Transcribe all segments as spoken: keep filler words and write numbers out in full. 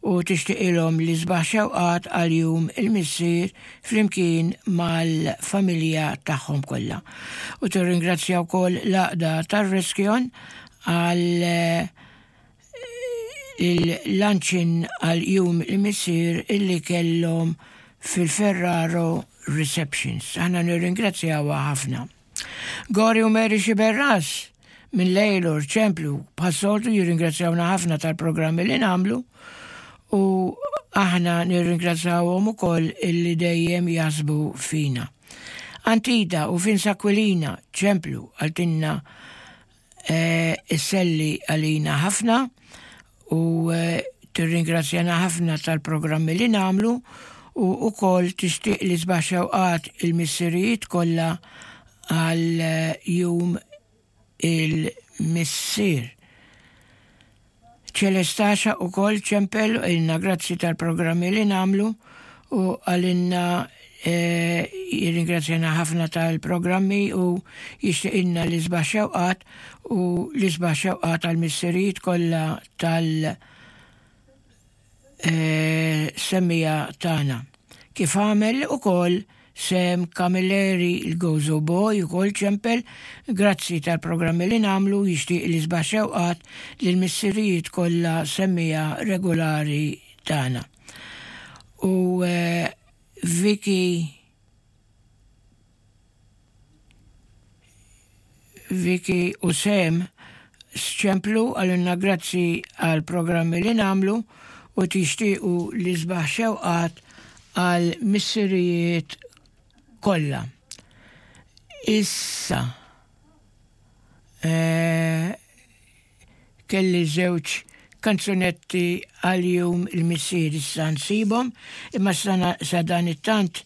u tixtieqilhom l-isbaħ xewqat għal Jum il-Missier flimkien mal-familja tagħhom kollha. U tirringrazzja wkoll l-għaqda tar-Reskjon għal eh, il-luncheon għal Jum il-Missier illi kellhom fil-Ferraro Receptions. Aħna nirringrazzjawha ħafna. Gori u Mary Xiberras minn Lejlor ċemplu bħas-soltu jirringrazzjawna ħafna tal-programmi li nagħmlu u aħna nirringrazzjawhom ukoll illi dejjem jaħsbu fina. Antida u Vince Aquilina ċemplu qaltilna eh, isselli għalina ħafna u eh, tirringrazzjana ħafna tal-programmi li nagħmlu u ukoll tixtieq l-isbaħ xewqat il-missirijiet kollha għal eh, Jum il-Missier. Ċelestaxa ukoll ċempel ilna grazzi tal-programmi li nagħmlu u qalilna eh, jirringrazzjana ħafna tal-programmi u jixtieqilna l-isbaħ xewqat u l-isbaħ xewqat għal-missirijiet kollha tal- eh, semmiegħa tagħna. Kif għamel ukoll Sem Camilleri il-Gozo Boy ukoll ċempel grazzi tal-programmi li nagħmlu, jixtieq l-isbaħ xewqat lill-missirijiet kollha semmiegħa regolari tagħna. U eh, Vicky Vicky u Sem ċemplu, qalilna grazzi għal programmi li nagħmlu u tixtiequ l-isbaħ xewqat għal missirijiet kollha. Issa eh, kelli żewġ kanzunetti għal Jum il-Missier, issa nsibhom, imma sana sa dan it-tant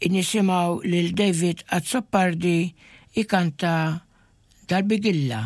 nisimgħu lil David Azzopardi ikanta dal-Bigilla.